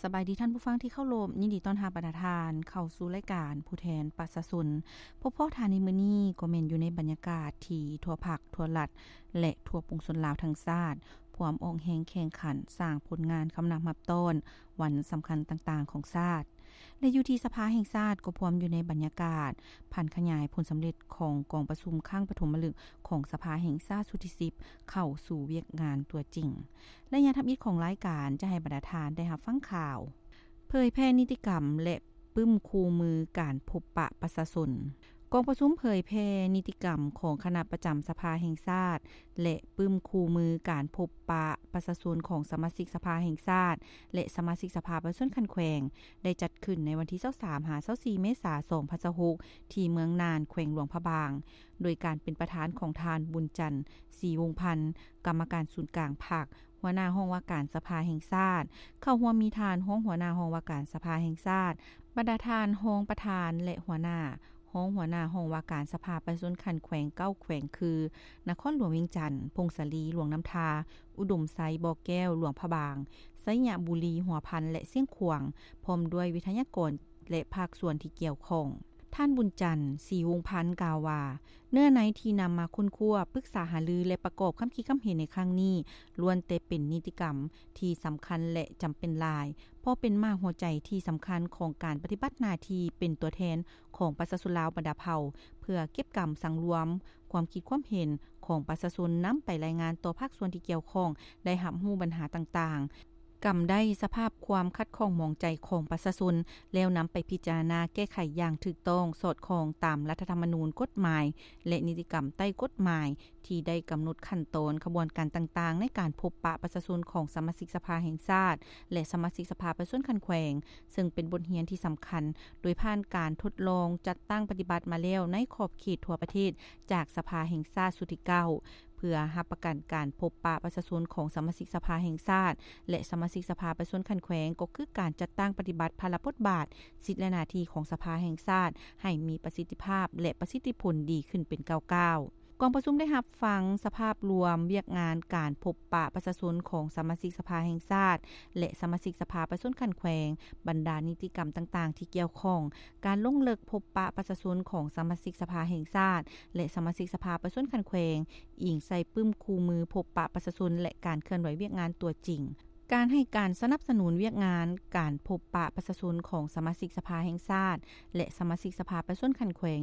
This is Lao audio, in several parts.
ສະບາຍດີທ່ານຜູ້ຟັງທີ່ເຄົາລົບ, ຍິນດີຕ້ອນຮັບບັນດາທ່ານເຂົ້າສູ່ລາຍການຜູ້ແທນປະຊາຊົນ. ພົບພໍ້ທ່ານໃນມື້ນີ້ກໍແມ່ນຢູ່ໃນບັນຍາກາດທີ່ທົ່ວພັກ, ທົ່ວລັດ ແລະ ທົ່ວປວງຊົນລາວທັງຊາດ ພວມອອກແຮງແຂ່ງຂັນສ້າງຜົນງານຄຳນັບຮັບຕ້ອນວັນສຳຄັນຕ່າງໆຂອງຊາດ. ແລະ ຢູ່ທີ່ສະພາແຫ່ງຊາດກໍພວມຢູ່ໃນບັນຍາກາດຜັນຂະຫຍາຍຜົນສຳເລັດຂອງກອງປະຊຸມຄັ້ງປະຖົມມະລຶກຂອງສະພາແຫ່ງຊາດຊຸດທີສິບ ເຂົ້າສູ່ວຽກງານຕົວຈິງ. ໄລຍະທຳອິດຂອງລາຍການຈະໃຫ້ບັນດາທ່ານໄດ້ຮັບຟັງຂ່າວ ເຜີຍແຜ່ນິຕິກຳ ແລະ ປຶ້ມຄູ່ມືການພົບປະປະຊາຊົນ. ກອງປະຊຸມເຜີຍແຜ່ນິຕິກຳຂອງຄະນະປະຈຳສະພາແຫ່ງຊາດ ແລະ ປຶ້ມຄູ່ມືການພົບປະປະຊາຊົນຂອງສະມາຊິກສະພາແຫ່ງຊາດ ແລະ ສະມາຊິກສະພາປະຊາຊົນຂັ້ນແຂວງ ໄດ້ຈັດຂຶ້ນໃນວັນທີຊາວສາມ ຫາ ຊາວສີ່ ເມສາ ສອງພັນຊາວຫົກ ທີ່ເມືອງນານ ແຂວງຫຼວງພະບາງ, ໂດຍການເປັນປະທານຂອງທ່ານ ບຸນຈັນ ສີວົງພັນ ກຳມະການສູນກາງພັກ, ຫົວໜ້າຫ້ອງວ່າການສະພາແຫ່ງຊາດ. ເຂົ້າຮ່ວມມີທ່ານຮອງຫົວໜ້າຫ້ອງວ່າການສະພາແຫ່ງຊາດ, ບັນດາທ່ານຮອງປະທານ ແລະ ຫົວໜ້າ, ຮອງຫົວໜ້າຫ້ອງວ່າການສະພາປະຊາຊົນຂັ້ນແຂວງເກົ້າແຂວງ ຄື ນະຄອນຫຼວງວຽງຈັນ, ຜົ້ງສາລີ, ຫຼວງນ້ຳທາ, ອຸດົມໄຊ, ບໍ່ແກ້ວ, ຫຼວງພະບາງ, ໄຊຍະບູລີ, ຫົວພັນ ແລະ ຊຽງຂວາງ, ພ້ອມດ້ວຍວິທະຍາກອນ ແລະ ພາກສ່ວນທີ່ກ່ຽວຂ້ອງ. ທ່ານ ບຸນຈັນ ສີວົງພັນ ກ່າວວ່າ ເນື້ອໃນທີ່ນຳມາຄົ້ນຄວ້າ, ປຶກສາຫາລື ແລະ ປະກອບຄຳຄິດຄຳເຫັນໃນຄັ້ງນີ້ ລ້ວນແຕ່ເປັນນິຕິກຳທີ່ສຳຄັນ ແລະ ຈຳເປັນຫຼາຍ, ເພາະເປັນໝາກຫົວໃຈທີ່ສຳຄັນຂອງການປະຕິບັດໜ້າທີ່ເປັນຕົວແທນຂອງປະຊາຊົນລາວບັນດາເຜົ່າ ເພື່ອເກັບກຳສັງລວມຄວາມຄິດຄວາມເຫັນຂອງປະຊາຊົນ ນຳໄປລາຍງານຕໍ່ພາກສ່ວນທີ່ກ່ຽວຂ້ອງໄດ້ຮັບຮູ້ບັນຫາຕ່າງໆ, ກຳໄດ້ສະພາບຄວາມຂັດຂ້ອງໝອງໃຈຂອງປະຊາຊົນ ແລ້ວນຳໄປພິຈາລະນາແກ້ໄຂຢ່າງຖືກຕ້ອງ ສອດຄ່ອງຕາມລັດຖະທຳມະນູນ, ກົດໝາຍ ແລະ ນິຕິກຳໃຕ້ກົດໝາຍ ທີ່ໄດ້ກຳນົດຂັ້ນຕອນຂະບວນການຕ່າງໆ ໃນການພົບປະປະຊາຊົນຂອງສະມາຊິກສະພາແຫ່ງຊາດ ແລະ ສະມາຊິກສະພາປະຊາຊົນຂັ້ນແຂວງ, ເຊິ່ງເປັນບົດຮຽນທີ່ສຳຄັນ ໂດຍຜ່ານການທົດລອງຈັດຕັ້ງປະຕິບັດມາແລ້ວໃນຂອບເຂດທົ່ວປະເທດ ຈາກສະພາແຫ່ງຊາດຊຸດທີເກົ້າ ເພື່ອຮັບປະກັນການພົບປະປະຊາຊົນຂອງສະມາຊິກສະພາແຫ່ງຊາດ ແລະ ສະມາຊິກສະພາປະຊາຊົນຂັ້ນແຂວງ ກໍຄືການຈັດຕັ້ງປະຕິບັດພາລະບົດບາດ, ສິດ ແລະ ໜ້າທີ່ຂອງສະພາແຫ່ງຊາດ ໃຫ້ມີປະສິດທິພາບ ແລະ ປະສິດທິຜົນດີຂຶ້ນເປັນກ້າວໆ. ກອງປະຊຸມໄດ້ຮັບຟັງສະພາບລວມວຽກງານການພົບປະປະຊາຊົນຂອງສະມາຊິກສະພາແຫ່ງຊາດ ແລະ ສະມາຊິກສະພາປະຊາຊົນຂັ້ນແຂວງ, ບັນດານິຕິກຳຕ່າງໆທີ່ກ່ຽວຂ້ອງ, ການລົງເລິກພົບປະປະຊາຊົນຂອງສະມາຊິກສະພາແຫ່ງຊາດ ແລະ ສະມາຊິກສະພາປະຊາຊົນຂັ້ນແຂວງ, ອີງໃສ່ປຶ້ມຄູ່ມືພົບປະປະຊາຊົນ ແລະ ການເຄື່ອນໄຫວວຽກງານຕົວຈິງ, ການໃຫ້ການສະໜັບສະໜູນວຽກງານການພົບປະປະຊາຊົນຂອງສະມາຊິກສະພາແຫ່ງຊາດ ແລະ ສະມາຊິກສະພາປະຊາຊົນຂັ້ນແຂວງ.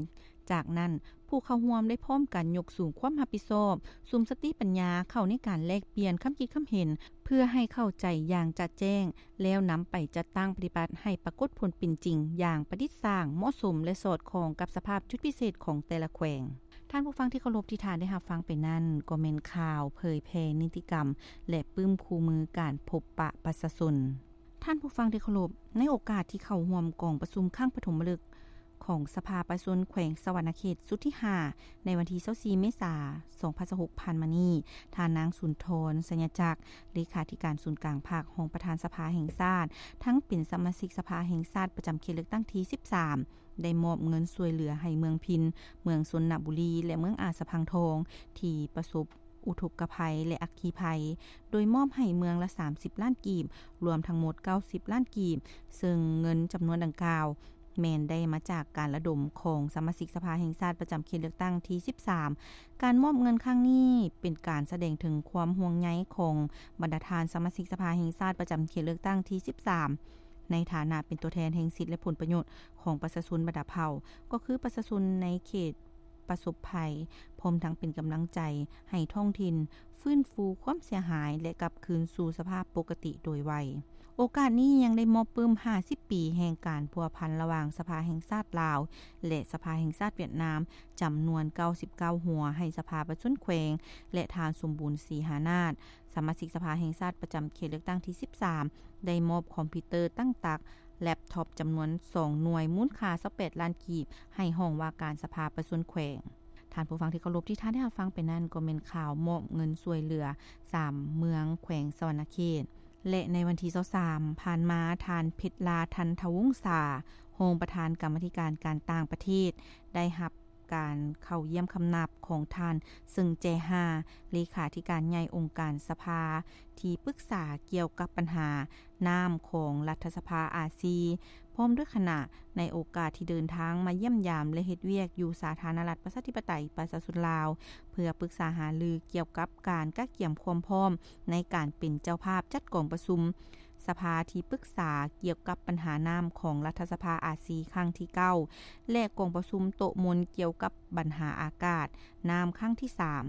ຈາກນັ້ນ, ຜູ້ເຂົ້າຮ່ວມໄດ້ພ້ອມກັນຍົກສູງຄວາມຮັບຜິດຊອບ, ສຸມສະຕິປັນຍາເຂົ້າໃນການແລກປ່ຽນຄຳຄິດຄຳເຫັນ ເພື່ອໃຫ້ເຂົ້າໃຈຢ່າງຈະແຈ້ງ, ແລ້ວນຳໄປຈັດຕັ້ງປະຕິບັດໃຫ້ປາກົດຜົນເປັນຈິງຢ່າງປະດິດສ້າງ, ເໝາະສົມ ແລະ ສອດຄ່ອງກັບສະພາບຈຸດພິເສດຂອງແຕ່ລະແຂວງ. ທ່ານຜູ້ຟັງທີ່ເຄົາລົບ, ທີ່ທ່ານໄດ້ຮັບຟັງໄປນັ້ນ ກໍແມ່ນຂ່າວເຜີຍແຜ່ນິຕິກຳ ແລະ ປຶ້ມຄູ່ມືການພົບປະປະຊາຊົນ. ທ່ານຜູ້ຟັງທີ່ເຄົາລົບ, ໃນໂອກາດທີ່ເຂົ້າຮ່ວມກອງປະຊຸມຄັ້ງປະຖົມມະລຶກຂອງສະພາປະຊາຊົນແຂວງສະຫວັນນະເຂດຊຸດທີຫ້າ ໃນວັນທີຊາວສີ່ ເມສາ ສອງພັນຊາວຫົກ ຜ່ານມານີ້, ທ່ານນາງ ສຸນທອນ ໄຊຍະຈັກ ເລຂາທິການສູນກາງພັກ, ຮອງປະທານສະພາແຫ່ງຊາດ, ທັງເປັນສະມາຊິກສະພາແຫ່ງຊາດປະຈຳເຂດເລືອກຕັ້ງທີສິບສາມ ໄດ້ມອບເງິນຊ່ວຍເຫຼືອໃຫ້ເມືອງພິນ, ເມືອງຊົນນະບູລີ ແລະ ເມືອງອາດສະພັງທອງ ທີ່ປະສົບອຸທົກກະໄພ ແລະ ອັກຄີໄພ, ໂດຍມອບໃຫ້ເມືອງລະສາມສິບລ້ານກີບ, ລວມທັງໝົດເກົ້າສິບລ້ານກີບ, ເຊິ່ງເງິນຈຳນວນດັ່ງກ່າວ ແມ່ນໄດ້ມາຈາກການລະດົມຂອງສະມາຊິກສະພາແຫ່ງຊາດປະຈຳເຂດເລືອກຕັ້ງທີສິບສາມ. ການມອບເງິນຄັ້ງນີ້ເປັນການສະແດງເຖິງຄວາມຫ່ວງໃຍຂອງບັນດາທ່ານສະມາຊິກສະພາແຫ່ງຊາດປະຈຳເຂດເລືອກຕັ້ງທີສິບສາມ ໃນຖານະເປັນຕົວແທນແຫ່ງສິດ ແລະ ຜົນປະໂຫຍດຂອງປະຊາຊົນບັນດາເຜົ່າ, ກໍຄືປະຊາຊົນໃນເຂດປະສົບໄພ, ພ້ອມທັງເປັນກຳລັງໃຈໃຫ້ທ້ອງຖິ່ນຟື້ນຟູຄວາມເສຍຫາຍ ແລະ ກັບຄືນສູ່ສະພາບປົກກະຕິໂດຍໄວ. ໂອກາດນີ້ຍັງໄດ້ມອບປຶ້ມຫ້າສິບປີແຫ່ງການພົວພັນລະຫວ່າງສະພາແຫ່ງຊາດລາວ ແລະ ສະພາແຫ່ງຊາດຫວຽດນາມ ຈຳນວນເກົ້າສິບເກົ້າຫົວ ໃຫ້ສະພາປະຊາຊົນແຂວງ ແລະ ທ່ານ ສົມບູນ ສີຫານາດ, ສະມາຊິກສະພາແຫ່ງຊາດປະຈຳເຂດເລືອກຕັ້ງທີສິບສາມ ໄດ້ມອບຄອມພິວເຕີຕັ້ງຕັກ, ແລັບທັອບຈຳນວນສອງໜ່ວຍ, ມູນຄ່າຊາວແປດລ້ານກີບ ໃຫ້ຫ້ອງວ່າການສະພາປະຊາຊົນແຂວງ. ທ່ານຜູ້ຟັງທີ່ເຄົາລົບ, ທີ່ທ່ານໄດ້ຮັບຟັງໄປນັ້ນ ກໍແມ່ນຂ່າວມອບເງິນຊ່ວຍເຫຼືອສາມເມືອງແຂວງສະຫວັນນະເຂດ. ແລະ ໃນວັນທີຊາວສາມ ຜ່ານມາ, ທ່ານ ເພັດລາ ທັນທະວົງສາ, ຮອງປະທານກຳມາທິການການຕ່າງປະເທດ ໄດ້ຮັບ ການເຂົ້າຢ້ຽມຄຳນັບຂອງທ່ານ ເຊິ່ງແຈຮາ ເລຂາທິການໃຫຍ່ອົງການສະພາ ທີ່ປຶກສາກ່ຽວກັບບັນຫານ້ຳຂອງລັດຖະສະພາອາຊີ ພ້ອມດ້ວຍຄະນະ ໃນໂອກາດທີ່ເດີນທາງມາຢ້ຽມຢາມ ແລະ ເຮັດວຽກຢູ່ສາທາລະນະລັດ ປະຊາທິປະໄຕ ປະຊາຊົນລາວ ເພື່ອປຶກສາຫາລືກ່ຽວກັບການກະກຽມຄວາມພ້ອມໃນການເປັນເຈົ້າພາບຈັດກອງປະຊຸມ ສະພາທີ່ປຶກສາກ່ຽວກັບບັນຫານ້ຳຂອງລັດຖະສະພາອາຊີຄັ້ງທີເກົ້າ ແລະ ກອງປະຊຸມໂຕະມົນກ່ຽວກັບບັນຫາອາກາດນ້ຳຄັ້ງທີສາມ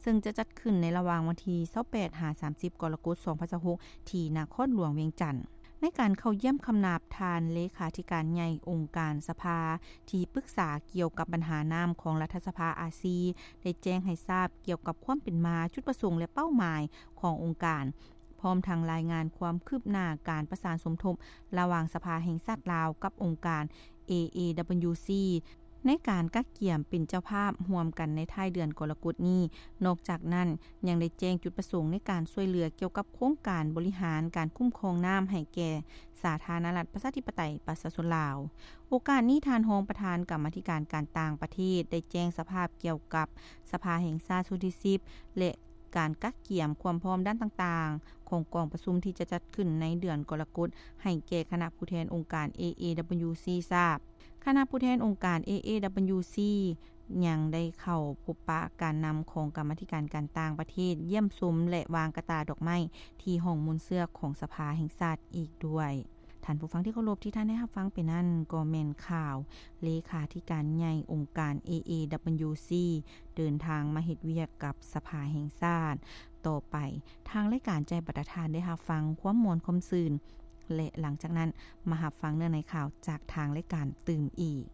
ເຊິ່ງຈະຈັດຂຶ້ນໃນລະຫວ່າງວັນທີຊາວແປດ ຫາ ສາມສິບ ກໍລະກົດ ສອງພັນຊາວຫົກ ທີ່ນະຄອນຫຼວງວຽງຈັນ. ໃນການເຂົ້າຢ້ຽມຄຳນັບ ທ່ານເລຂາທິການໃຫຍ່ອົງການສະພາ ທີ່ປຶກສາກ່ຽວກັບບັນຫານ້ຳຂອງລັດຖະສະພາອາຊີ ໄດ້ແຈ້ງໃຫ້ຊາບກ່ຽວກັບຄວາມເປັນມາ, ຈຸດປະສົງ ແລະ ເປົ້າໝາຍຂອງອົງການ ພ້ອມທັງລາຍງານຄວາມຄືບໜ້າການປະສານສົມທົບລະຫວ່າງສະພາແຫ່ງຊາດລາວກັບອົງການ ເອ ເອ ດັບເບິນຢູ ຊີ ໃນການກະກຽມເປັນເຈົ້າພາບຮ່ວມກັນໃນທ້າຍເດືອນກໍລະກົດນີ້. ນອກຈາກນັ້ນ ຍັງໄດ້ແຈ້ງຈຸດປະສົງໃນການຊ່ວຍເຫຼືອກ່ຽວກັບໂຄງການບໍລິຫານການຄຸ້ມຄອງນ້ຳໃຫ້ແກ່ສາທາລະນະລັດ ປະຊາທິປະໄຕ ປະຊາຊົນລາວ. ໂອກາດນີ້ ທ່ານຮອງປະທານກຳມາທິການການຕ່າງປະເທດ ໄດ້ແຈ້ງສະພາບກ່ຽວກັບສະພາແຫ່ງຊາດຊຸດທີສິບ ແລະ ການກະກຽມຄວາມພ້ອມດ້ານຕ່າງໆ ຂອງກອງປະຊຸມທີ່ຈະຈັດຂຶ້ນໃນເດືອນກໍລະກົດ ໃຫ້ແກ່ຄະນະຜູ້ແທນອົງການ ເອ ເອ ດັບເບິນຢູ ຊີ ຊາບ. ຄະນະຜູ້ແທນອົງການ ເອ ເອ ດັບເບິນຢູ ຊີ ຍັງໄດ້ເຂົ້າພົບປະການນຳຂອງກຳມາທິການການຕ່າງປະເທດ, ຢ້ຽມຊົມ ແລະ ວາງກະຕ່າດອກໄມ້ທີ່ຫ້ອງໂມນເຊືອກຂອງສະພາແຫ່ງຊາດອີກດ້ວຍ. ທ່ານຜູ້ຟັງທີ່ເຄົາລົບ, ທີ່ທ່ານໄດ້ຮັບຟັງໄປນັ້ນ ກໍແມ່ນຂ່າວເລຂາທິການໃຫຍ່ອົງການ ເອ ເອ ດັບເບິນຢູ ຊີ ເດີນທາງມາເຮັດວຽກກັບສະພາແຫ່ງຊາດ. ຕໍ່ໄປ, ທາງລາຍການໃຈບັດຕາທ່ານໄດ້ຮັບຟັງຄວາມມ່ວນຄວາມຊື່ນ ແລະ ຫຼັງຈາກນັ້ນ ມາຮັບຟັງເນື້ອໃນຂ່າວຈາກທາງລາຍການຕື່ມອີກ.